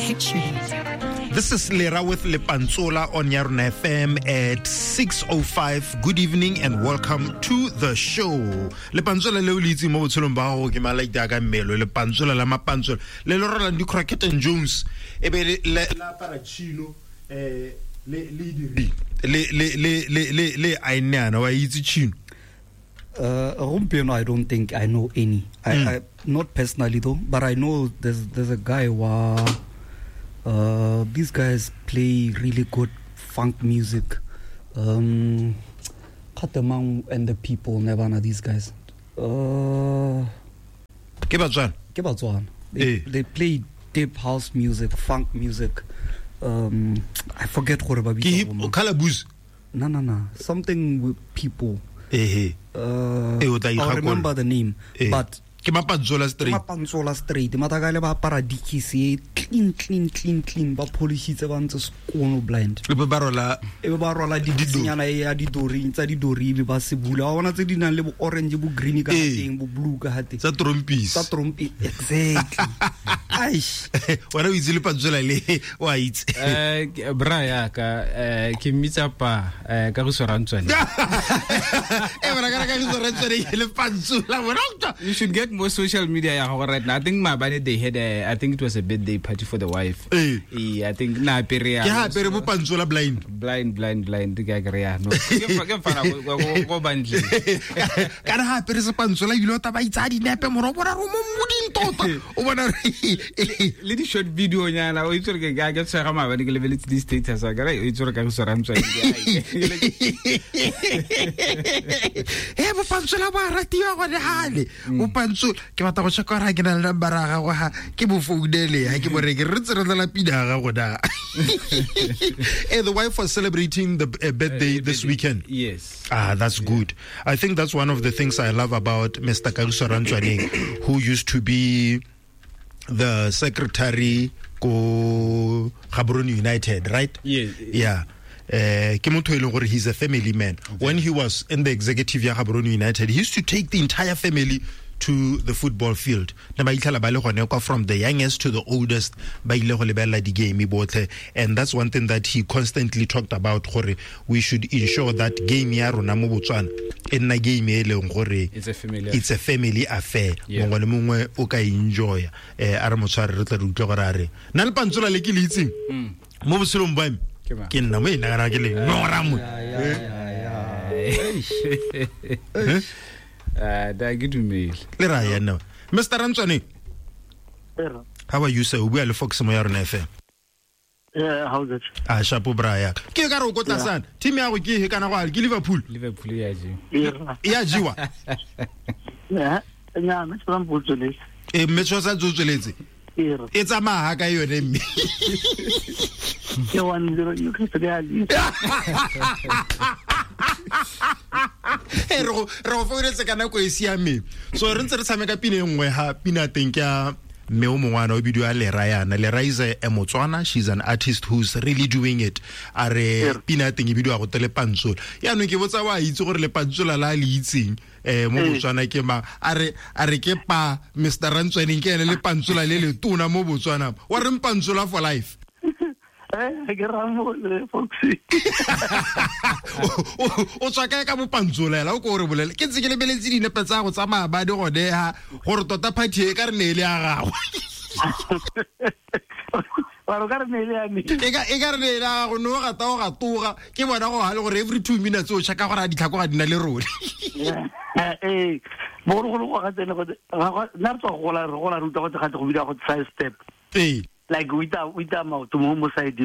This is Lera with Lepantsola on Yarona FM at 6:05. Good evening and welcome to the show. Lepantsola le o le itseng mo botshelong ba gago ke malaita ka mmelo lepantsola la mapantsola le le rolang di-Crockett and Jones e be le apara chino le le diri le le le le le le aeneana wa itse chino. Gompieno I don't think I know any. I not personally though, but I know there's a guy who these guys play really good funk music. Khatemang and the people, Nevana, these guys. Ke Batswana. Ke Batswana. They play deep house music, funk music. I forget gore ba bitsa Ke hip Calabus. No. Something with people. Eh. O tla I'll remember the name, but ke Mapantsola straight. Mapantsola straight. Matakale ba apara dikisi clean clean clean ba polishitse ba ntse skono blind. E be ba rola dikisinyana ya didori tsa didori be ba se bula. Wa bona tse di nang le bo orange bo green ka teng bo blue ka teng. Tsa trompis. Tsa trompi exactly. Aish. Wena o itse Lepantsola le wa itse. Bra ya ka ke mmitsa pa ka go swarantswane. Bra ka go swarantswane Lepantsola bona. You should get more social media ya gago right now. I think maabane they had a, I think it was a birthday party for the wife. I think na apere ya. Ke ha apere bo Pantsola blind. Blind ke a kry ya. No. Ke mfana go bantle. Kana ha apere se Pantsola ile o taba itsa dinepe moro bona ro mo moding tota. O bona le di short video nyana o itse re ke tshwara maabane ke lebeletse di status wa ka o itse re ka go swarantswa. He bo Pantsola ba ratiwa gone hale. Bo Pantsola ke batla go check gore ke na le number ya gago ha ke bo founele ha ke boreke re tse re tla pina ga gago na. The wife was celebrating the birthday this weekend. Yes. Ah, that's good. I think that's one of the things I love about Mr. Kagiso Rantswaneng, who used to be the secretary ko Gaborone United, right? Yes. Yeah. Ke motho e leng gore he's a family man. Okay. When he was in the executive ya Gaborone United, he used to take the entire family to the football field. Ne ba itlhela ba le gone kwa from the youngest to the oldest ba ile go lebella di game botlhe, and that's one thing that he constantly talked about, gore we should ensure that game ya rona mo Botswana e nna game e leng gore it's a family affair. Mongwe le mongwe o ka enjoy. A re motshware re tla re utlwe gore a re nna le Pantsola le ke le itseng mo botshelong ba me ke nna mo e nagana ke le nora mo. Da ke dumele. Le ra ya nna. Mr. Rantswane. How are you sir? O bua le Fox mo ya rona FM. Yeah, how's it? Ah, shapo bra ya. Ke ka re o kotlasana. Team ya go ke he kana go ke Liverpool. Liverpool ya jewa. Ya jewa. Yeah, nya me tswa mpotsweletse. Mme tswa sa tsweletse. E tsamaya ka yone mme. Ke 1-0 you can say re go founetse ka nako e siameng. So re ntse re tshameka pina e nngwe ha pina teng ke ya mme o mongwana o bidiwa Lera yana. Lera is a Motswana, she's an artist who's really doing it. A re pina teng e bidiwa go te Lepantsola. Yaanong ke botsa wa itse gore Lepantsola la le itseng mo Botswana ke mang. A re ke pa Mr. Rantswaneng ke ene Lepantsola le le tona mo Botswana. Wa re Mpantsola for life. Ke ramo le Foxy. O tswa kae ka Bopantsola ela o ko re bolele. Ke ntse ke lebeletse dinepe tsa go tsa maabane gone ha gore tota party e ka re ne e le ya gago. Ba re ka re ne e le ya me. E ka re ne e le ya gago no gata o gatoga ke bona go ha le gore every 2 minutes o checka gore a ditlhako ga di na le rone. Bogologolo go ga tsene go nna re tswa go gola re gola ruta go tse go bida go side step. Like with the mouth mo side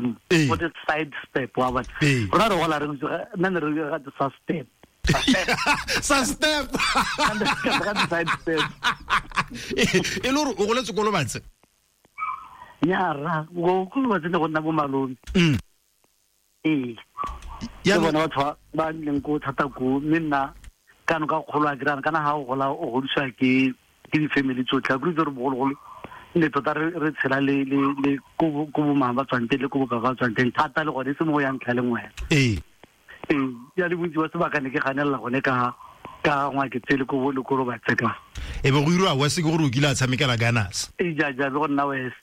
what is side step wa ba rona re gola re nna re ga sa step sa step ga side step e le gore o goletse ko Lobatse ya ra go ko Lobatse ne go nna bo malome ya bona batho ba nleng ko thata ko mme nna kana ka kgolo a dirana kana ha o gola o godiswa ke di family tsotlhe a re bogologolo ne tota re tshela le ko bo mang ba tswang teng le ko bo ka ba tswang teng thata le gone se mo yang ntlha le nngwe. Ya le bontsi ba sebaka ne ke ganelela gone ka Ka ngwa ke tsele ko le ko ba tseka. E be go irwa West ke gore o kile a tshamekela Gunners. E ja ja go nna West.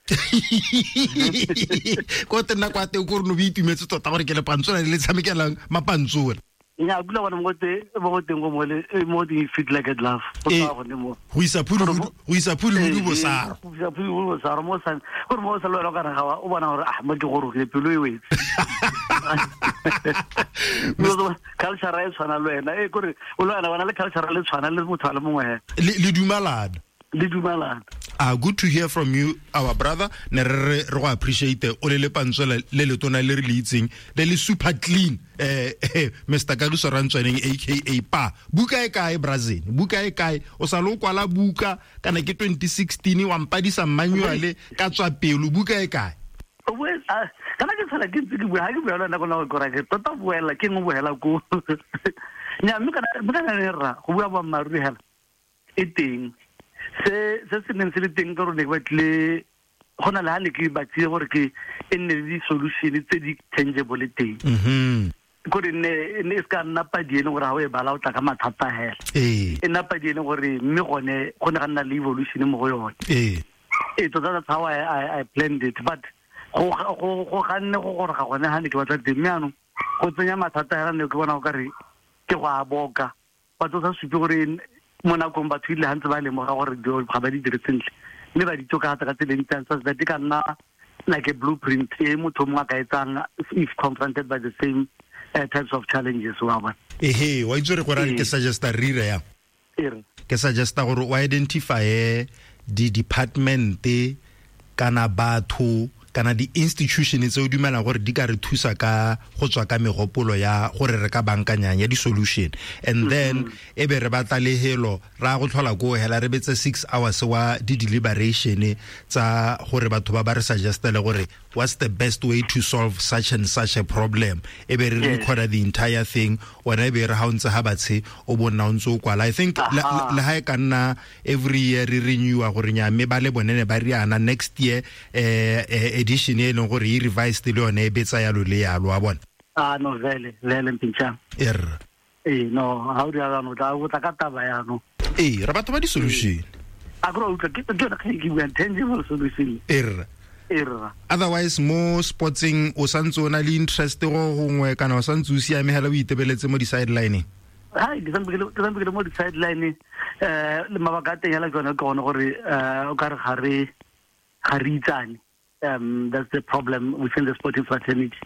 Ko tena kwa teng ko re no itumetse tota gore ke le pantsola le tshamekelang mapantsola. Nya kula bona mo te mo go teng go mo le mo di fit like a glove. Go tsa gone mo. Go isa phudi go isa phudi go bosaro. Go isa phudi go bosaro mo sa gore mo sa lo ka re ga o bona gore ah mo ke gore ke pelo e wetse. Culture e tshwana le wena e kore o le wena bona le culture le tshwana le motho a le mongwe le dumalana. Le dumalana. Ah, good to hear from you, our brother. Ne re go appreciate o le le pantsola le letona le re le itseng le le super clean. Mr. Kagiso Rantswaneng aka Pa. Buka e kae Brazil? Buka e kae? O sa lo kwala buka kana ke 2016 wa mpadisa manual ka tswa pelo buka e kae? Kana ke tsala ke ntse ke bua ha ke bua le nna go go ra ke tota buela ke ngwe buela ko. Nya mme kana ne ra go bua boammaaruri hela e teng. Se se neng se le teng ka rone ke batle go na le ha ne ke batlile gore ke e nne le di-solution tse di tangible teng. Kore ne e se ka nna padi e leng gore ha o e bala o tla ka mathata hela. E nna padi e leng gore mme gone go ne ga nna le evolution mo go yone. E tota that's how I planned it, but go ganne go gore ga gone ha ne ke batla teng mme anong go tsenya mathata hela ne ke bona o kare ke go a boka. Batho sa supe gore mo nakong batho ile hantse ba lemoga gore ga ba di dire sentle mme ba di tokafatsa ka tsela e ntseng so that e ka nna like a blueprint e motho mongwe a ka etsang if confronted by the same types of challenges wa bona. Ehe wa itse gore ke suggesta re ire yang ke suggesta gore o identify di department kana batho kana di institution tse o dumelang gore di ka re thusa ka go tswa ka megopolo ya gore re ka bankanyang ya di solution, and then e be re batla lehelo ra go tlhola ko hela re betse 6 hours wa di deliberation tsa gore batho ba ba re suggestele gore what's the best way to solve such and such a problem, e be re record the entire thing wena e be re ha o ntse ha batshe o bona o ntse o kwala. I think le ha e ka nna every year re renewa gore nya mme ba le bone ne ba riana next year edition e leng gore e revised le yone e betsa yalo le yalo wa bona. Ah no vele mpintša no ha o dira no tla go tla ka taba ya no re batho ba di solution a go utlwa ke yona ke bua tangible solution Otherwise mo sportsing o santse o na le interest go gongwe kana o santse o siame hela o itebeletse mo di sideline? Hai ke sampe ke le mo di sideline le mabaka a teng hela ke yone ke gone gore o ka re ga re itsane. That's the problem within the sporting fraternity.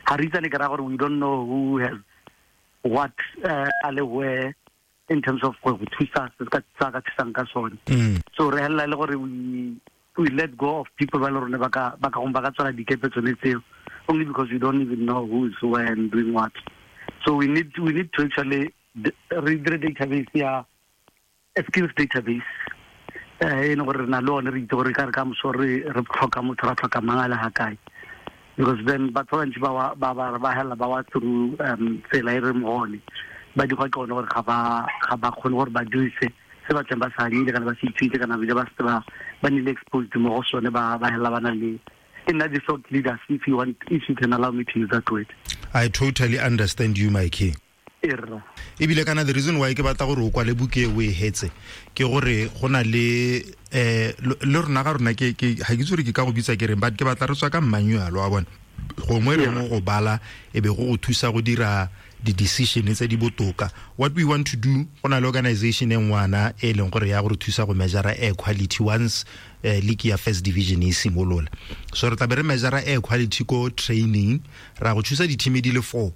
Haritane ke ra gore we don't know who has what ale where in terms of go thusa se ka tsaka thusang ka sone. So re hela le gore we let go of people ba le rone ba ka gong ba ka tswala dikepe tsone tseo only because we don't even know who is where and doing what. So we need to actually read the database ya a skills database. E leng gore re na le one re itse gore ka re ka moso re tlhoka motho ra tlhoka mang a le ga kae, because then batho ba bantsi ba hela ba wa through tsela e re mo gone ba di gwa ke one gore ga ba kgone gore ba dirise se ba tleng ba sa anyile kana ba se ithutile kana bile ba se ba nnile exposed mo go sone ba hela ba na le e nna di thought leaders, if you want, if you can allow me to use that word. I totally understand you, my king. Ebile kana the reason why ke batla gore o kwale buke o e hetse ke gore go na le le rona ga rona ke ga ke tsore ke ka go bitsa ke reng but ke batla re tswa ka manual wa bona gongwe re mo go bala e be go go thusa go dira di decision tse di botoka. What we want to do go na le organization e ngwana e leng gore ya go re thusa go measure air quality once league ya first division e simolola. So re tla be re measure air quality ko training ra go thusa di-team di le 4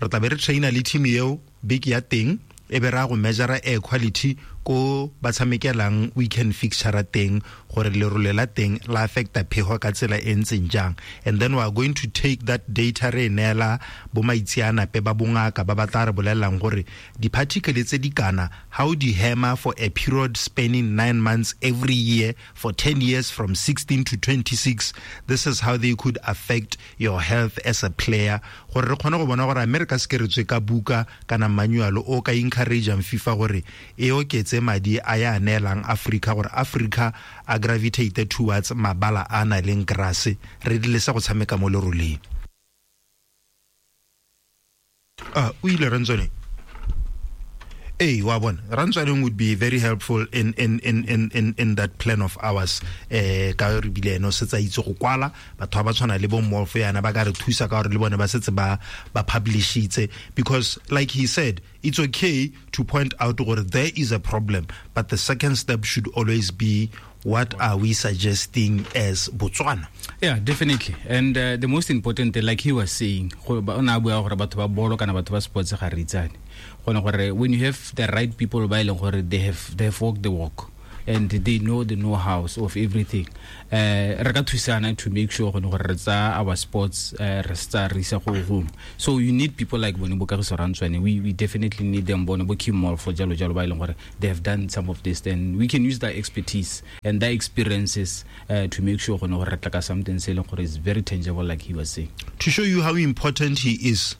re tla be re traina le team eo beke ya teng e be ra go measure air quality ko ba tshamekelang weekend fixture teng gore lerole la teng la affecta phego ka tsela e ntseng jang, and then we are going to take that data re neela bo maitseanape ba bongaka ba ba tla re bolelelang gore di-particle tse di kana how di hammer for a period spanning 9 months every year for 10 years from 16 to 26, this is how they could affect your health as a player, gore re kgone go bona gore America se ke re tswe ka buka kana manual o ka encourageang FIFA gore e oketse madi a ya neelang Africa gore Africa a gravitate towards mabala a na leng grass re dilesa go tshameka mo leroleng. O ile Rantswane. Ee, wa bona, Rantswaneng would be very helpful in that plan of ours. Ka re bile ene o setse a itse go kwala, batho ba ba tshwana le bo Molfo yana ba ka re thusa ka gore le bone ba setse ba publishitse, because like he said, it's okay to point out gore there is a problem, but the second step should always be, what are we suggesting as Botswana? Yeah, definitely. And the most important thing, like he was saying, go ba o ne a bua gore batho ba bolo kana batho ba sports ga re itsane. Gone gore when you have the right people ba e leng gore they have walked the walk and they know the know-hows of everything, re ka thusana to make sure gone gore re tsaya our sports, re se tsaya re isa go home. So you need people like bone bo Kagiso Rantswane. We definitely need them, bone bo Kim for jalo jalo, ba e leng gore they have done some of this, and we can use their expertise and their experiences to make sure gone gore re tla ka something se e leng gore is very tangible, like he was saying. To show you how important he is,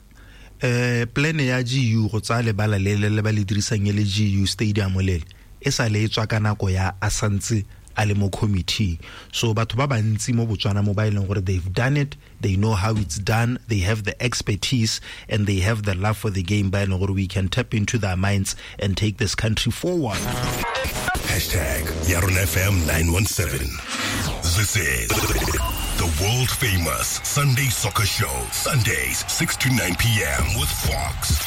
plan ya GU go tsaya lebala le le ba le dirisang e le GU Stadium lele e sa le e tswa ka nako ya a santse a le mo committee. So batho ba bantsi mo Botswana mo ba e leng gore they've done it, they know how it's done, they have the expertise and they have the love for the game, ba e leng gore we can tap into their minds and take this country forward. #YaronaFM 917. This is the world famous Sunday Soccer Show. Sundays, 6 to 9 p.m. with Fox.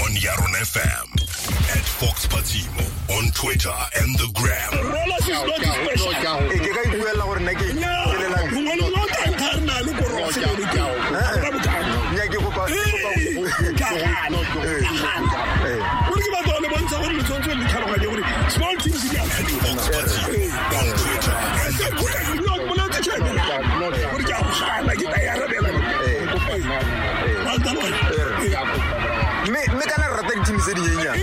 On Yarona FM. At Fox Patimo on Twitter and the Gram. Rollers is not special. E ke ka ipuela gore nna ke lela. Mongwe le o tang thare na le korose le teng. Ra bokana. Nya ke kopa Ka gana. Ka gana. Gore ke batla go le bontsha gore le tshwanetse le tlhaloganye gore small teams di a Fox Patimo on Twitter and the Gram. Gore ke a go gana, ke tla e arabela. Wa ntlhaloganya? Mme kana re rata di-team tse dinyenyane.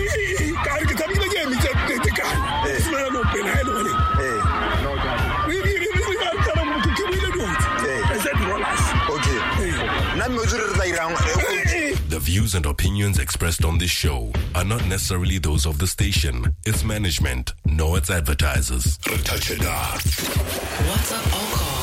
Ka re ke tshamekile ke emitse tekano. Simolola le opela ha e le gone. Ke buile dotse. I said Rollers. Okay, nna mme o tsere re tla irang coach? The views and opinions expressed on this show are not necessarily those of the station, its management, nor its advertisers. Touch it up. WhatsApp or call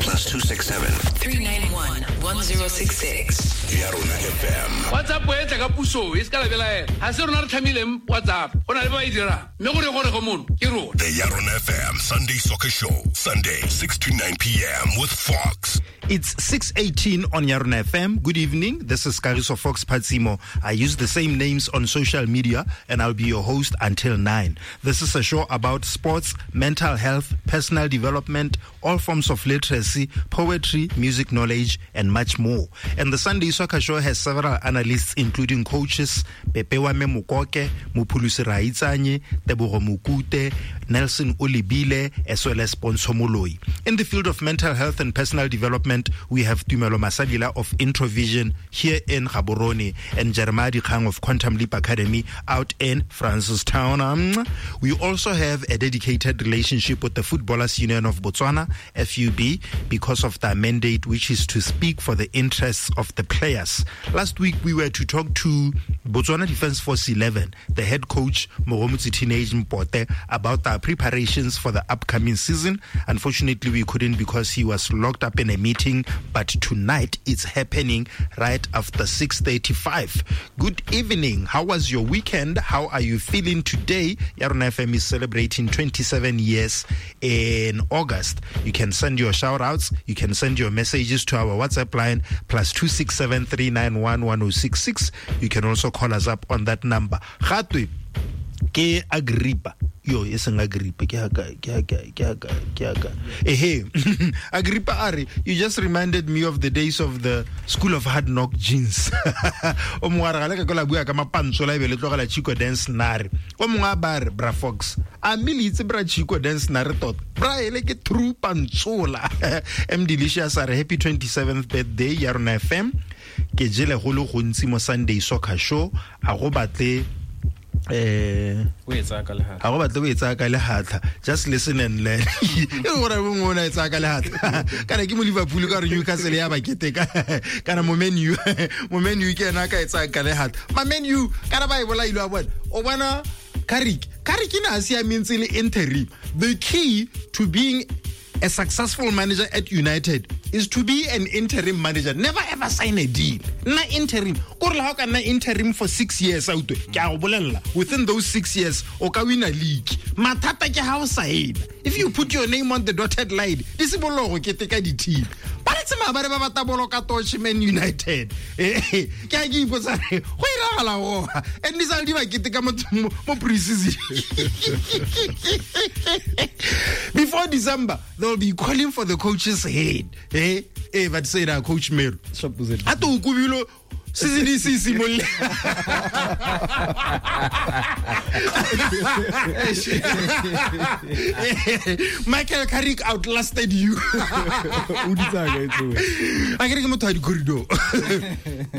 +267 391 1066. Yarona FM. WhatsApp e tla ka puso e se ka lebelaela, ga se rona re tlhamileng WhatsApp, go na le ba e dirang, mme gore go mono ke rona. The Yarona FM Sunday Soccer Show. Sunday, 6 to 9 p.m. with Fox. It's 6:18 on Yarona FM. Good evening. This is Kagiso Fox Patsimo. I use the same names on social media and I'll be your host until 9. This is a show about sports, mental health, personal development, all forms of literacy, poetry, music knowledge, and much more. And the Sunday Soccer Show has several analysts, including coaches Pepewame Mukoke, Mupulusi Raitsanye, Tebogo Mukute, Nelson Olibile, as well as Ponso Moloi. In the field of mental health and personal development, we have Tumelo Masalila of Introvision here in Gaborone and Jeremiah Dikgang of Quantum Leap Academy out in Francistown. We also have a dedicated relationship with the Footballers Union of Botswana, FUB, because of their mandate, which is to speak for the interests of the players. Last week, we were to talk to Botswana Defence Force 11, the head coach, Mogomotsi Teenage Mpote, about their preparations for the upcoming season. Unfortunately, we couldn't because he was locked up in a meeting, but tonight it's happening right after 6:35. Good evening. How was your weekend? How are you feeling today? Yarona FM is celebrating 27 years in August. You can send your shout outs. You can send your messages to our WhatsApp line +267 391 1066. You can also call us up on that number. Gatwe ke Agrippa yo e seng Agrippa, ke aka ke aka ke aka ke aka ehe. Agrippa a re, "You just reminded me of the days of the School of Hard Knock jeans." O mongwe a re ga le ka ko la bua ka mapantsola e be le tlogela Chico Dance Nare. O mongwe a ba re, "Bra Fox, a mme le itse bra Chico Dance Nare tota bra ele ke true pantsola." M Delicious a re, "Happy 27th birthday ya rona FM. Ke jele go le gontsi mo Sunday Soccer Show. A go batle O e tsaya ka lehatla. A go batle o e tsaya ka lehatlha. Just listen and learn." E gore mongwe o ne a e tsaya ka lehatlha kana ke mo Liverpool ka gore Newcastle ya ba keteka, kana mo Man U ke ena a ka e tsaya ka lehatlha. Ma Man U kana ba e bolaile wa bona. O bona Carrick, Carrick ne a siameng tse le interim. The key to being a successful manager at United is to be an interim manager. Never ever sign a deal. Nna interim. Kore le ha o ka nna interim for 6 years out. Ke a go bolella. Within those 6 years o ka win a league. Mathata ke ha o sign. If you put your name on the dotted line, di simolola go keteka di-team. Ba re tse maabane ba batla bolo ka torch Man United. Ke a ke ipotsa re, go iragala go. And di sale di ba keteka mo pre-season. Before December, they'll be calling for the coach's head. But say that Coach Melo. A to o kobilo season e se simololle. Michael Carrick outlasted you. O di tsaya kae tseo? A kere ke motho wa di-corridor.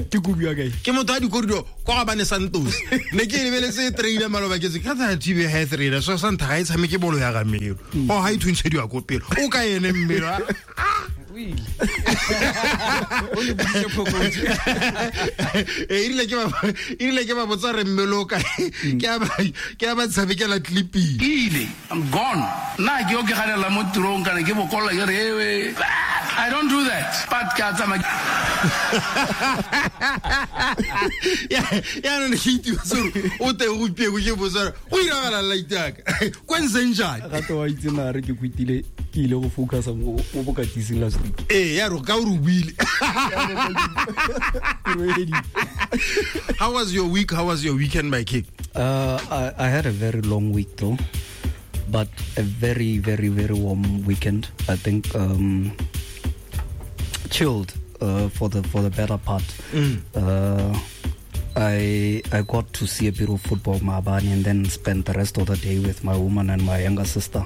Ke kobiwa kae? Ke motho wa di-corridor kwa ga bane Santos. Ne ke lebeletse trailer maloba ke tse ka tsa TV ha e trailer so sa ntha ga e tshameke bolo ya ga Melo. O ga e thuntshediwa ko pele. O ka ene Mmelo. O le boditse phokotso. E rile ke ba botsa re Mmelo o kae. Ke a ba tshamekela clipping. Ile, I'm gone. Nna ke yo ke ganela mo tirong kana ke bokolla ke re ewe. I don't do that. But ke a tsamaya. Yaanong ne ke itiwa sore o teng gompieno ke botsa gore go iragala light yaka kwa ntseng jang. Gape wa itse na re ke kwetile ke ile go focusa mo bokatising last week. Ee, ya re ka o re o buile. How was your week? How was your weekend, my king? I had a very long week though, but a very, very, very warm weekend. I think chilled for the better part. I got to see a bit of football maabane and then spent the rest of the day with my woman and my younger sister.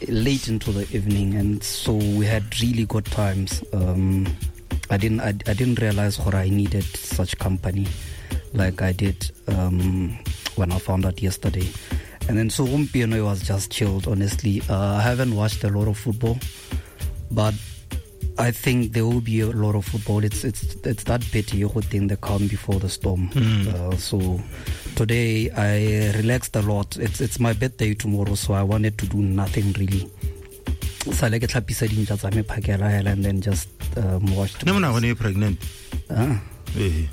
Late into the evening, and so we had really good times. I didn't realize what I needed such company like I did when I found out yesterday. And then so gompieno it was just chilled, honestly. I haven't watched a lot of football, but I think there will be a lot of football. It's that pity you think the calm before the storm. So today I relaxed a lot. It's my birthday tomorrow, so I wanted to do nothing really. Sale ke tlhapisa dintja tsa me phakela hela and then just watched. Ne mona gone pregnant. Ah. Okay.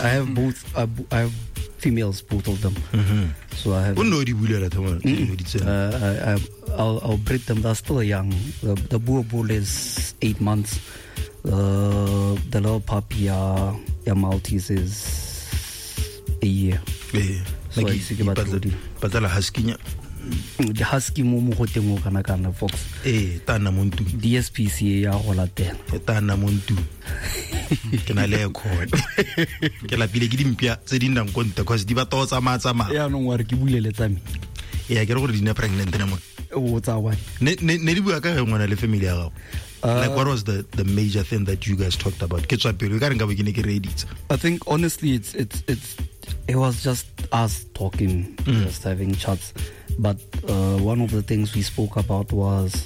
I have both. I have females, both of them. So I have. O nne o di bulela thoma, di tsena. I'll breed them. They're still young. The boer bull is 8 months. The little puppy ya Maltese is a year. So Like I se ke batla go di- Patla husky nya. The husky mo mogoteng o kana kana Fox. Ee, ta nna mo ntlong. DSPCA ya go latela. E ta nna mo ntlong. Ke na le aircon. Ke lapile ke dimpia tse di nnang ko ntle cause di batla go tsamaya tsamaya. Yaanong wa re ke bulele tsa me. Ee, ke re gore di ne pregnant ne mo. O tsaya one. Ne di bua ka ge ngwana le family ya gago. Like what was the major thing that you guys talked about? Ke tswa pelo, e ka re nka bo ke ne ke reeditse. I think honestly it was just us talking, just having chats. But one of the things we spoke about was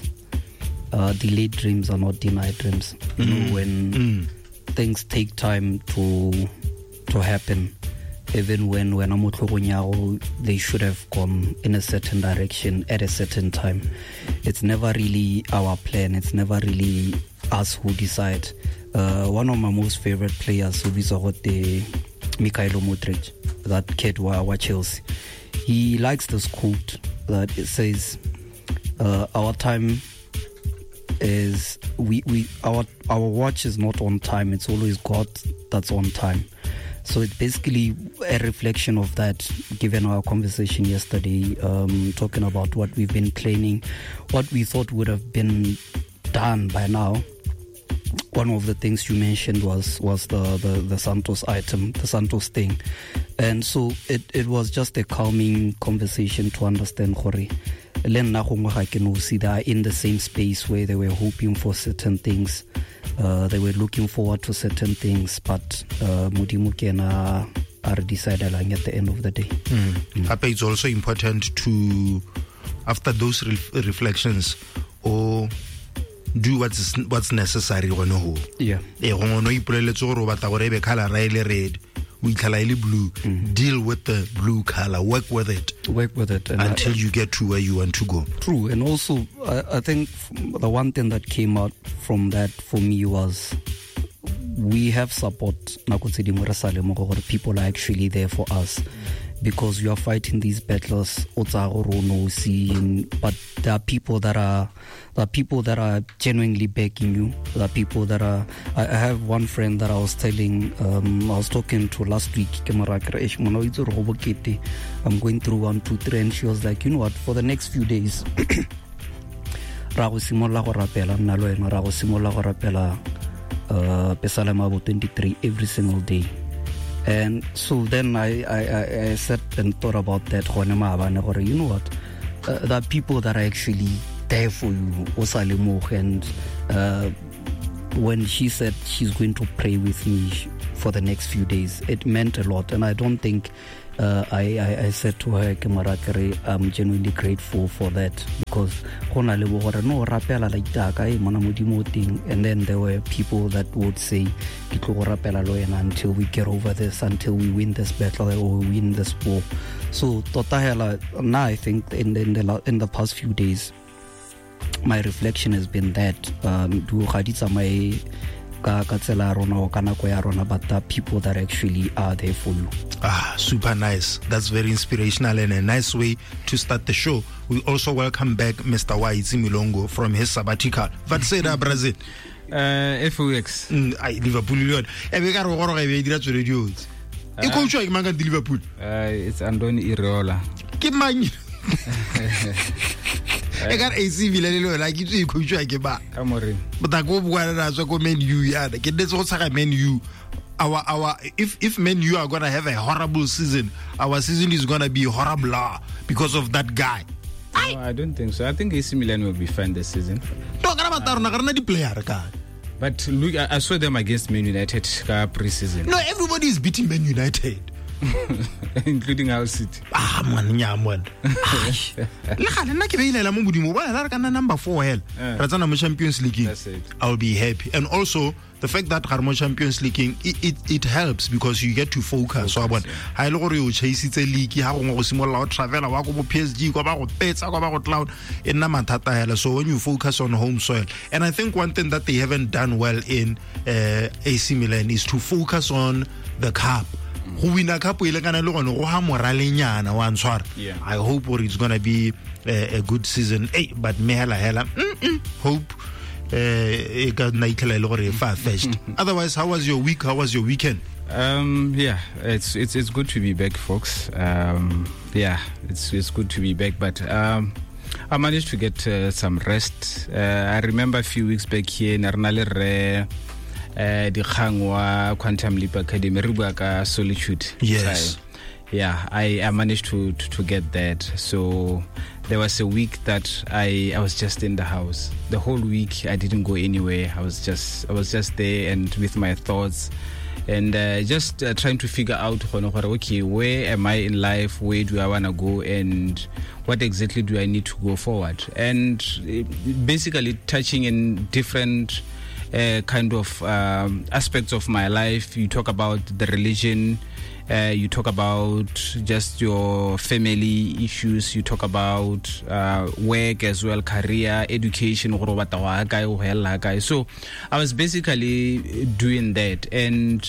delayed dreams are not denied dreams. You know, when things take time to happen, even when I'm they should have gone in a certain direction at a certain time. It's never really our plan. It's never really us who decide. One of my most favorite players, who is Mikhailo Mudryk, that kid wa Chelsea. He likes this quote that it says, our time is we our watch is not on time. It's always God that's on time. So it's basically a reflection of that, given our conversation yesterday, talking about what we've been planning, what we thought would have been done by now. One of the things you mentioned was the Santos item, the Santos thing. And so it was just a calming conversation to understand gore le nna gongwe ga ke no see they are in the same space where they were hoping for certain things. They were looking forward to certain things, but Modimo ke ena a re decidelang at the end of the day. Gape it's also important to, after those reflections, or do what's necessary gone ho. Ee, gongwe o ipoleletse gore o batla gore e be colour e le red. o itlhela e le blue. Deal with the blue color, work with it. Work with it. And until you get to where you want to go. True. And also, I think the one thing that came out from that for me was we have support. Nako tse dingwe re sa lemoge gore people are actually there for us, because you are fighting these battles o tsaya gore o nosi, but there are people that are genuinely backing you. There are people that are. I have one friend that I was telling, I was talking to last week. Ke mo raya ke re, "Eish, monna o itse gore go bokete. I'm going through 1, 2, 3," and she was like, you know what, for the next few days, ra go simolola go rapela nna le wena, ra go simolola go rapela Pesalema bo 23 every single day. And so then I sat and thought about that gone maabane gore, you know what, there are people that are actually there for you, o sa lemoge. And when she said she's going to pray with me for the next few days, it meant a lot. And I don't think I said to her, ke mo raya ke re, I'm genuinely grateful for that, because go na le bo gore no rapela la itaka e mona modimo o teng. And then there were people that would say, ke tlo go rapela le wena until we get over this, until we win this battle or we win this war. So tota hela nna, I think in the past few days, my reflection has been that dilo ga di tsamaye ka tsela ya rona or ka nako ya rona, but the people that actually are there for you. Ah, super nice. That's very inspirational and a nice way to start the show. We also welcome back Mr. Waitsi Milongo from his sabbatical. What say that, Brazil? FOX. Liverpool le yone. E be ka re goroga e be e dira tswele diotse. E coachwa ke mang ka Liverpool? It's Andoni Iraola. Ke mang? E ka re AC Milan le yona ke itse e coachwa ke ba. Ka more. But go bua na tswa ko Man U yana. Ke nnetse go tshaga Man U. Our if Man U are gonna have a horrible season, our season is gonna be horrible because of that guy. No, I don't think so. I think AC Milan will be fine this season. No, ka ba rona ga rena di player ka. But look, I saw them against Man United ka pre-season. No, everybody is beating Man United. Including our City. Ah, man, nya man. Le gale nna ke beilela mo modimo ba la re kana number 4 hela. Re tsena mo Champions League. I'll be happy. And also the fact that re mo Champions League it helps because you get to focus. So bona ha ile gore o chaseitse league ha gongwe go simolola o travela wa go bo PSG kwa ba go petsa kwa ba go cloud e nna mathata hela. So when you focus on home soil, and I think one thing that they haven't done well in AC Milan is to focus on the cup. Go wina cup e le kana le gone go ha moralenyana wa ntshwara. I hope it's going to be a good season. Hey, but me hela hela hope e ka nna itlhela e le gore e far fetched. Otherwise, how was your week? How was your weekend? Yeah, it's good to be back, folks. Yeah, it's good to be back, but I managed to get some rest. I remember a few weeks back here in Arnale re dikgang wa Quantum Leap Academy re bua ka solitude. Yes. Yeah, I managed to get that. So there was a week that I was just in the house. The whole week I didn't go anywhere. I was just there and with my thoughts and just trying to figure out, okay, where am I in life? Where do I want to go? And what exactly do I need to go forward? And basically touching in different kind of aspects of my life. You talk about the religion, you talk about just your family issues, you talk about work as well, career, education. So I was basically doing that. And,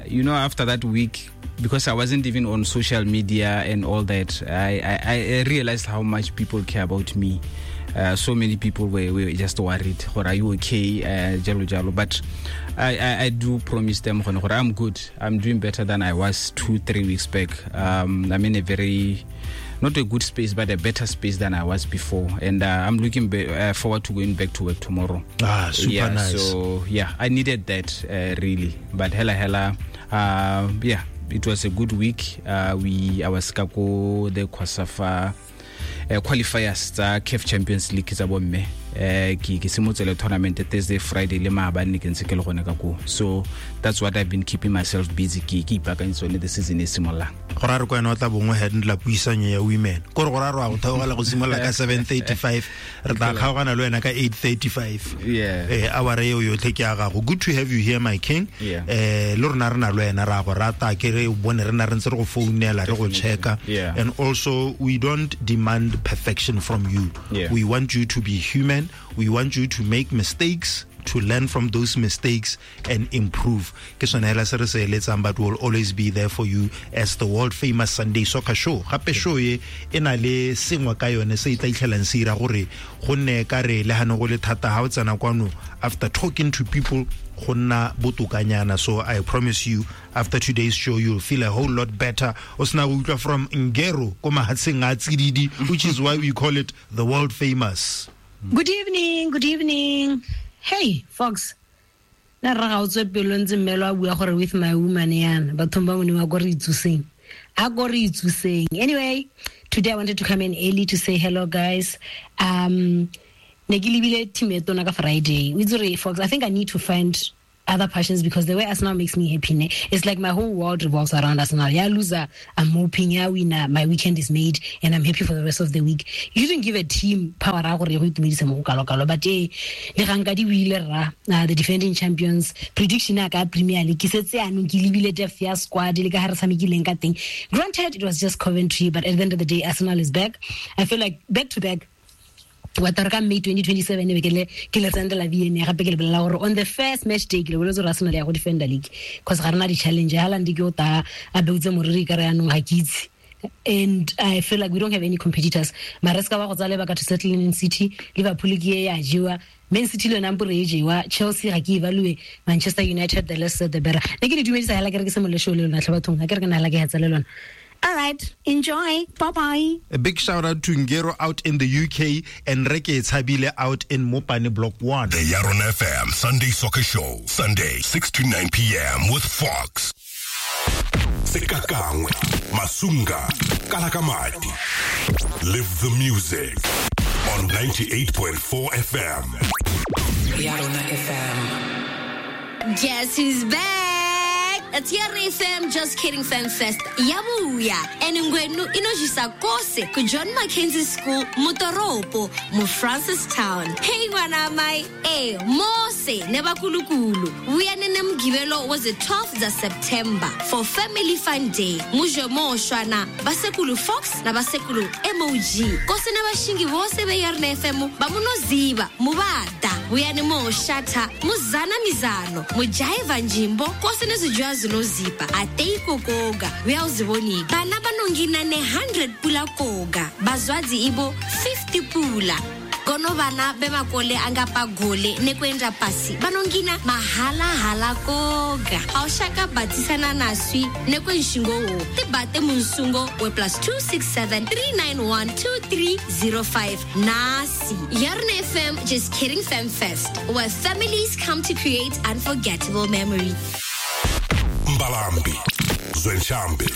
you know, after that week, because I wasn't even on social media and all that, I realized how much people care about me. So many people were just worried, are you okay? Jalo jalo. But I do promise them, I'm good. I'm doing better than I was 2-3 weeks back. I'm in a very, not a good space, but a better space than I was before. And I'm looking forward to going back to work tomorrow. Ah, super nice. So, yeah, I needed that, really. But hela, yeah, it was a good week. I was kako the COSAFA qualifiers tsa CAF Champions League tsa bomme. Ke simotse le tournament Thursday, Friday le maabane ke ntse ke le gone ka koo. So that's what I've been keeping myself busy, ke ipaakanyetsa yone the season e simololang. Go ra re ko wena o tla bongwe handla puisanyo ya women, kore go ra re wa go theogela go simolola ka 7:35, re tla kgaogana le wena ka 8:35. Hour eo yotlhe ke ya gago. Good to have you here, my king. Le rona re na le wena, ra go rata, ke re bone re na re ntse re go founela, re go checka. And also we don't demand perfection from you. We want you to be human. We want you to make mistakes, to learn from those mistakes and improve. Ke sone hela se re se eletsang, but we'll always be there for you as the world famous Sunday Soccer Show. Gape show e na le sengwe ka yone se e tla itlhelang se ira gore go nne ka re le hane go le thata ha o tsena kwano after talking to people go nna botokanyana. So I promise you, after today's show you'll feel a whole lot better. O sena go utlwa from Ngero ko mahatsheng a Tsididi, which is why we call it the world famous. Good evening, good evening. Hey, Fox. Na ra ga o tswe pelo ntse mmelo a bua gore with my woman yana. Bathong ba mone ba go re itsoseng. A go re itsoseng. Anyway, today I wanted to come in early to say hello, guys. Ne ke lebile team e tona ka Friday. O itse gore, Fox, I think I need to find other passions because the way Arsenal makes me happy, ne? It's like my whole world revolves around Arsenal. Yeah, loser, I'm hoping. Yeah, winner, my weekend is made and I'm happy for the rest of the week. You didn't give a team power but the defending champions prediction ka Premier League squad. Granted, it was just Coventry, but at the end of the day, Arsenal is back. I feel like back to back. May 2027 ke le sendela VN gape ke le bolela gore on the first match day ke le boletse gore Arsenal ya go defender league because ga rena di challenge. Haaland ke o ta a beutse moriri ka re yanong ga ke itse, and I feel like we don't have any competitors. Maresca ba go tsale ba ka to settle in City, Liverpool ke ya jewa, Man City le yona mpore e jewa, Chelsea ga ke evaluate, Manchester United the less said the better. Ne ke le dumedisa hela ke re ke se molle show le lona tlhe bathong, ga ke re ke na hela ke hetsa le lona. All right, enjoy. Bye-bye. A big shout out to Ngero out in the UK and Reke Tshabile out in Mopane Block 1. The Yaron FM Sunday Soccer Show, Sunday, 6 to 9 p.m. with Fox. Sekakangwe, Masunga, Kalakamati. Live the music on 98.4 FM. Yaron FM. Guess who's back? TRA FM Just Kidding Fan Fest yabuya and ngwenu inojisa kose ku John Mackenzie School Motoropo mu Francistown. Hey ngwana mai mose nebakulukulu uyanene mgibelo was the 12th of September for Family Fun Day muje moshwana basekulu Fox na basekulu MOG kose nabashingi bose be Yarona FM bamunoziba mubada uyane moshata muzana mizano mujaiva njimbo kose nezijwa zinozipa atei koga uyawuzibonika bana banongina ne 100 pula koga bazwadzi ibo 50 pula kono bana bemakole angapagole nekwenda pasi banongina mahala hala koga awushaka batisana naswi nekwenshingo tibate munsungo we +267 391 2305 nasi Yarona FM Just Kidding Fam Fest, where families come to create unforgettable memories. Mbalambi, Zwenshambi,